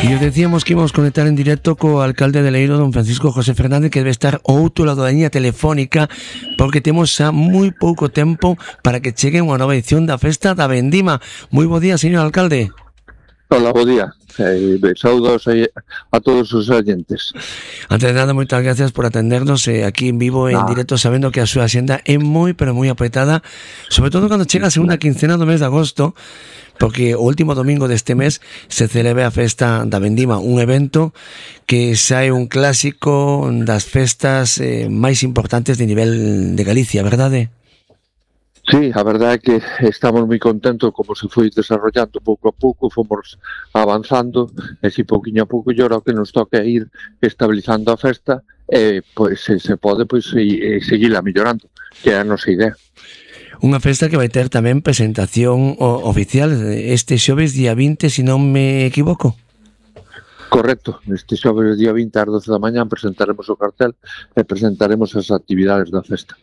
E os decíamos que íbamos conectar en directo co alcalde de Leiro, don Francisco José Fernández, que debe estar ao outro lado da liña telefónica, porque temos xa moi pouco tempo para que chegue unha nova edición da Festa da Vendima. Moi bo día, señor alcalde. Hola, bo día. Saúdos a todos os oyentes. Antes de nada, moitas gracias por atendernos aquí en vivo, en directo, sabendo que a súa axenda é moi, pero moi apretada, sobre todo cando chega a segunda quincena do mes de agosto, porque o último domingo deste mes se celebra a Festa da Vendima, un evento que xa é un clásico das festas máis importantes de nivel de Galicia, verdade? Sí, a verdade é que estamos moi contentos como se foi desarrollando pouco a pouco, fomos avanzando, e si pouquinho a pouco ahora o que nos toca é ir estabilizando a festa, pois se pode seguila mellorando, que é a nosa idea. Unha festa que vai ter tamén presentación oficial este xoves día 20, se non me equivoco. Correcto, este xoves día 20 ás 12 da mañá presentaremos o cartel e presentaremos as actividades da festa.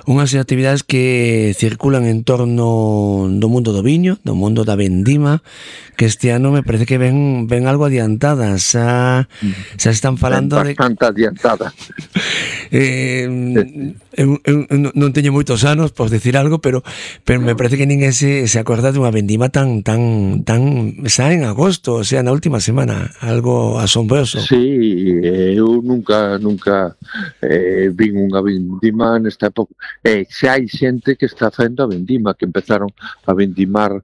Unhas actividades que circulan en torno do mundo do viño, do mundo da vendima, que este ano me parece que ven algo adiantadas, xa están falando bastante adiantada. Non teño moitos anos, por decir algo, pero me parece que ninguén se acorda dunha vendima tan xa en agosto, o sea, na última semana, algo asombroso. Sí, eu nunca vin unha vendima nesta época. Xa hai xente que está facendo a vendima, que empezaron a vendimar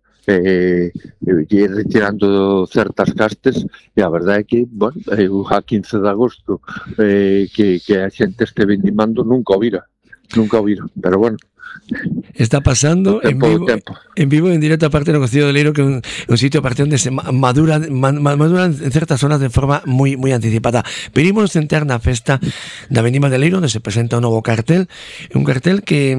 retirando certas castes, e a verdade é que, bueno, a 15 de agosto que a xente este vendimando nunca o vira, pero bueno. Está pasando en vivo, en directo, aparte do Concello de Leiro, que é un sitio aparte onde se madura en certas zonas de forma moi anticipada. Pero ímonos centrar na festa da Vendima de Leiro, onde se presenta un novo cartel, un cartel que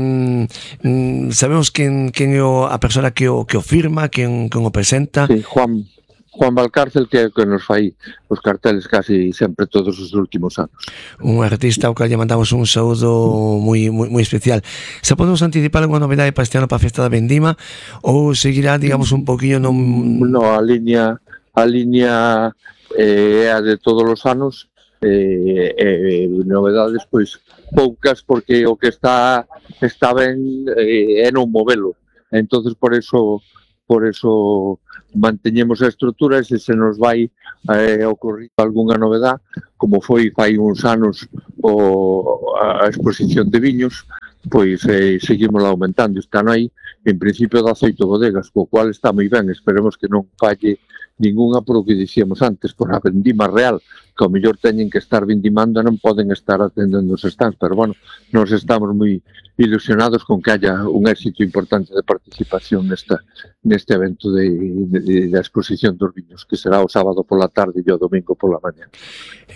sabemos quen é a persona que o firma, quen o presenta. Sí, Juan Valcárcel, que nos fai os carteles casi sempre todos os últimos anos. Un artista ao que lle mandamos un saúdo moi especial. Se podemos anticipar alguna novidade para este ano para a Festa da Vendima, ou seguirá, digamos, un poquinho No, a liña é a de todos os anos, novedades pois poucas, porque o que está ben é non movelo. Entonces por eso manteñemos a estrutura, e se nos vai ocorrer algunha novedade, como foi fai uns anos a exposición de viños, pois seguimos aumentando. Están aí, en principio, 18 bodegas, co cual está moi ben. Esperemos que non falle ningunha, por o que dicíamos antes, por a vendima real, que ao mellor teñen que estar vendimando e non poden estar atendendo os stands, pero bueno, nos estamos moi ilusionados con que haya un éxito importante de participación neste evento da exposición dos viños, que será o sábado pola tarde e o domingo pola mañá.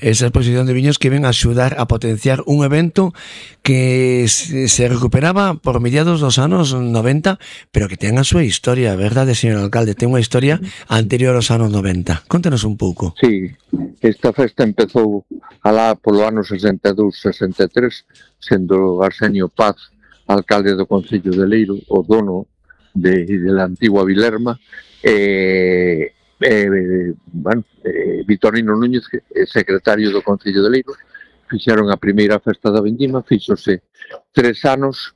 Esa exposición de viños que ven a axudar a potenciar un evento que se recuperaba por mediados dos anos 90, pero que ten a súa historia, verdade, señor alcalde? Ten unha historia anterior aos anos 90. Contenos un pouco. Sí, esta festa empezou alá polo ano 62-63, sendo Arsenio Paz alcalde do Concello de Leiro, o dono de la antigua Vilerma, Vitorino Núñez, secretario do Concello de Leiro, fixeron a primeira festa da Vendima, fíxose 3 anos,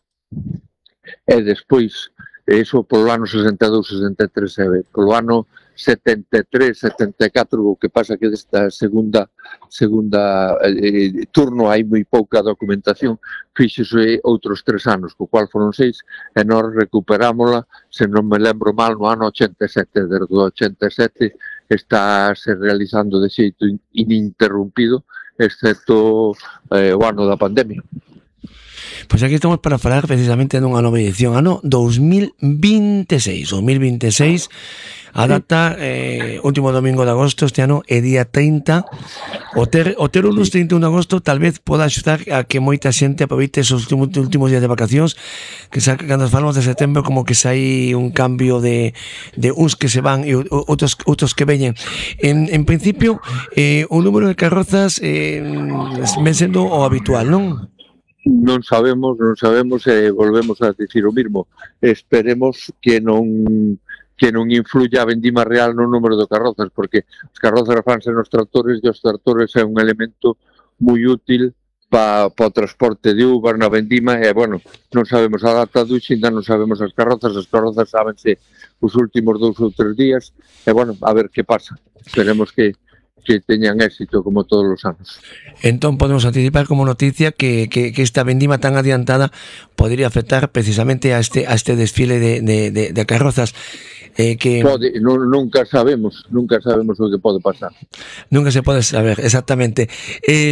e despois, eso polo ano 62-63, polo ano 73-74, o que pasa que desta segunda turno hai moi pouca documentación, fíxose outros 3 anos, co cual foron 6, e nós recuperámola, se non me lembro mal, no ano 87. Desde o 87 está se realizando de xeito ininterrumpido, excepto o ano da pandemia. Pois aquí estamos para falar precisamente dunha nova edición, ano 2026. A data, último domingo de agosto, este ano é día 30. O ter o lunes 31 de agosto tal vez poda axudar a que moita xente aproveite esos últimos días de vacacións, que cando falamos de setembro como que hai un cambio de uns que se van e outros que veñen. En principio, o número de carrozas ven sendo o habitual, non? Non sabemos, volvemos a dicir o mismo. Esperemos que non que non influya a vendima real no número de carrozas, porque os carrozas fanse nos tractores e os tractores é un elemento moi útil para o transporte de uvas na vendima e, bueno, non sabemos a data do ainda non sabemos as carrozas sábense os últimos 2 ou 3 días e, bueno, a ver que pasa. Esperemos que teñan éxito como todos os anos. Entón podemos anticipar como noticia que esta vendima tan adiantada podría afectar precisamente a este desfile de carrozas. Nunca sabemos o que pode pasar. Nunca se pode saber, exactamente.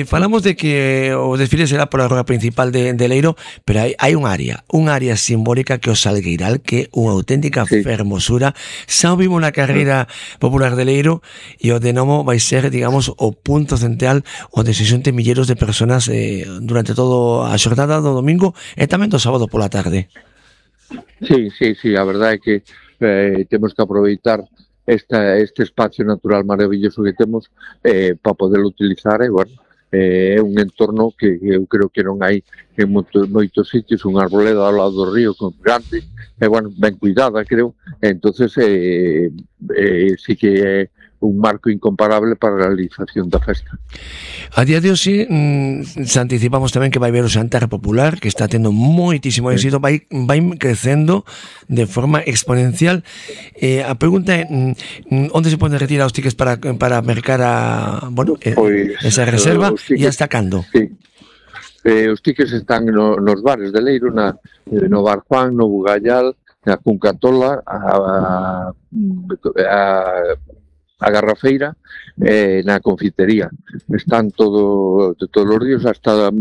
Falamos de que o desfile será pola rúa principal de Leiro, pero hai un área simbólica que o Salgueiral, que é unha auténtica fermosura. Xa o vimos na carreira popular de Leiro e o de Nomo vai ser, digamos, o punto central onde se xunten milleiros de personas durante toda a xornada do domingo e tamén do sábado pola tarde. Sí, a verdade é que temos que aproveitar este espacio natural maravilloso que temos para poderlo utilizar e, bueno, é un entorno que eu creo que non hai en moitos sitios, un arboleda ao lado do río grande e, bueno, ben cuidada, creo, entonces sí que é un marco incomparable para a realización da festa. A día de hoxe se anticipamos tamén que vai haber o Xantar Popular, que está tendo moitísimo éxito, vai crecendo de forma exponencial. A pregunta é onde se poden retirar os tickets para mercar esa reserva e hasta cando? Sí. Os tickets están nos bares de Leiro, no Bar Juan, no Bugallal, na Cuncatola, a Garrafeira, na confitería. Están todos os días hasta,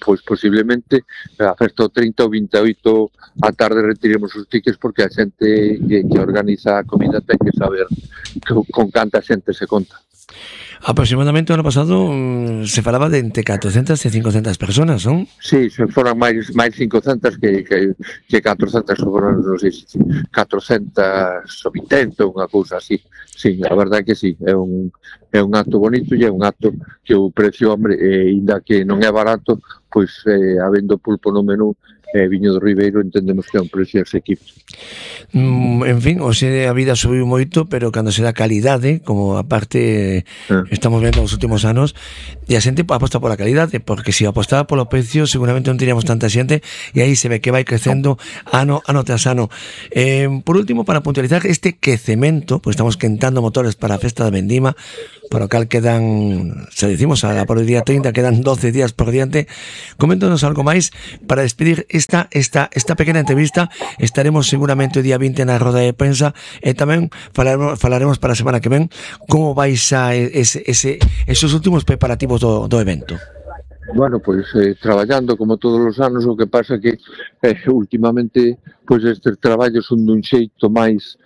pois, posiblemente a festa o 30 ou 28 a tarde retiremos os tickets, porque a xente que organiza a comida ten que saber con canta xente se conta. Aproximadamente o ano pasado se falaba de entre 400 e 500 personas, non? Sí, se foran máis 500 que 400, foron, non sei, 480, unha cousa así. Sí, a verdade que sí, é un acto bonito e é un acto que o precio, hombre, ainda que non é barato, pois habendo pulpo no menú, viño do Ribeiro, entendemos que é un precio asequible. En fin, hoxe a vida subiu moito, pero cando se dá calidade, como a parte estamos vendo nos últimos anos, e a xente aposta pola calidade, porque se apostaba polo precio seguramente non teríamos tanta xente, e aí se ve que vai crecendo ano tras ano. Por último, para puntualizar este quecemento, pois estamos quentando motores para a festa da vendima, para o cal quedan, se decimos, por o día 30 quedan 12 días por diante. Coméntanos algo máis para despedir esta pequena entrevista. Estaremos seguramente o día 20 na roda de prensa e tamén falaremos para a semana que ven como vais a esos últimos preparativos do evento. Bueno, pois traballando como todos os anos, o que pasa que últimamente pois estes traballos son dun xeito máis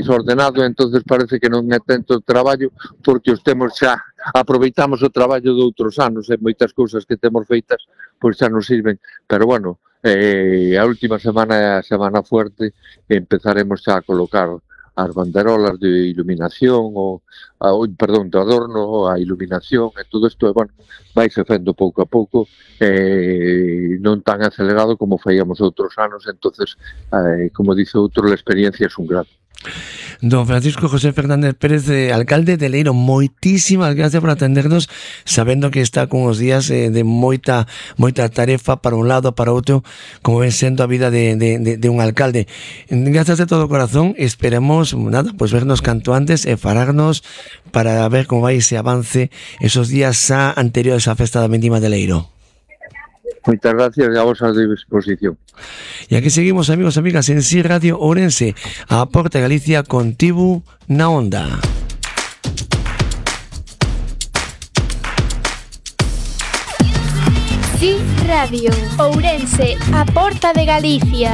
ordenado, e entonces parece que non é tanto traballo porque os temos xa, aproveitamos o traballo de outros anos e moitas cousas que temos feitas pois xa nos sirven, pero bueno, a última semana é a semana fuerte e empezaremos xa a colocar as banderolas de iluminación de adorno, a iluminación e todo isto, bueno, vai se fendo pouco a pouco, non tan acelerado como faíamos outros anos, entonces, como dice outro, a experiencia é un grado. Don Francisco José Fernández Pérez, alcalde de Leiro, moitísimas gracias por atendernos, sabendo que está con os días de moita tarefa para un lado, para outro, como ven sendo a vida de un alcalde. Gracias de todo corazón, esperemos pues vernos canto antes e falarnos para ver como vai ese avance esos días anteriores á festa da vendima de Leiro. Moitas gracias e a vosa disposición. E aquí seguimos, amigos e amigas, en Si Radio Ourense, a Porta Galicia contigo na onda. Si Radio Ourense, a Porta de Galicia.